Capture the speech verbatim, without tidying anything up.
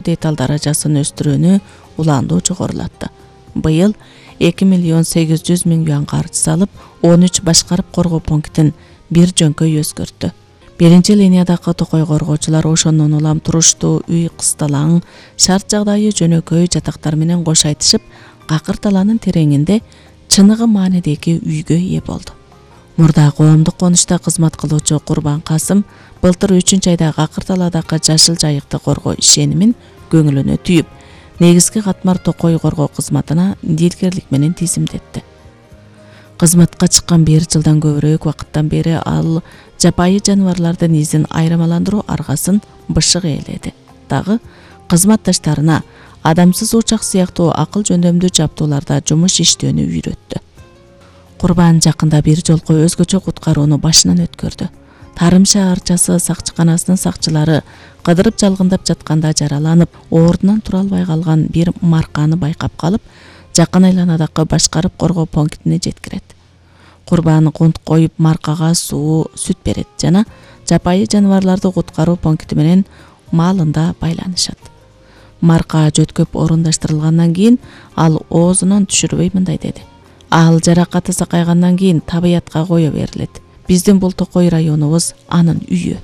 деталь даражасын өстүрүүнү улаандуу жогорулатты. Быйыл эки миллион сегиз жүз миң юан каржы салып, он үч башкарып коргоо пунктин бир жөнкөй өзгөрттү. Биринчи линиядагы токой коргоочулар ошондон улам туруштуу үй кысталаң, шарт жагдайы жөнөкөй жатактар менен кош айтышып, какыр талаанын тереңинде чыныгы маанидеги үйгө ээ болду. Мурда коомдук конушта кызмат кылуучу Курбан Касым былтыр үчүнчү айда какыр талаадагы жашыл жайыкты коргоо ишенимин көңүлүнө түйүп, негизги катмар токой коргоо кызматына дилгерлик менен тизимдетти. Кызматка чыккан бир жылдан көбүрөөк убакыттан бери ал жапайы жаныбарлардын изин айырмаландыруу аргасын бышык ээледи. Дагы кызматташтарына адамсыз учак сыяктуу акыл жөндөмдүү жабдууларда жумуш иштөөнү үйрөттү. Курбан жакында бир жолку өзгөчө куткарууну башынан өткөрдү. Тарым шаарчасы сакчыканасынын сакчылары кыдырып жалгындап жатканда жараланып, ордунан тура албай калган бир марканы байкап калып, жакын айланадагы башкарып коргоо пунктине жеткирет. Курбан кунт коюп маркага суу, сүт берет жана жапайы жаныбарларды куткаруу пункти менен маалында байланышат. Марка жөткөп орундаштырылгандан кийин ал оозунан түшүрбөй мындай деди: "Ал жаракаты сакайгандан кийин табиятка кое берилет. Биздин бул токой районубуз анын үйү".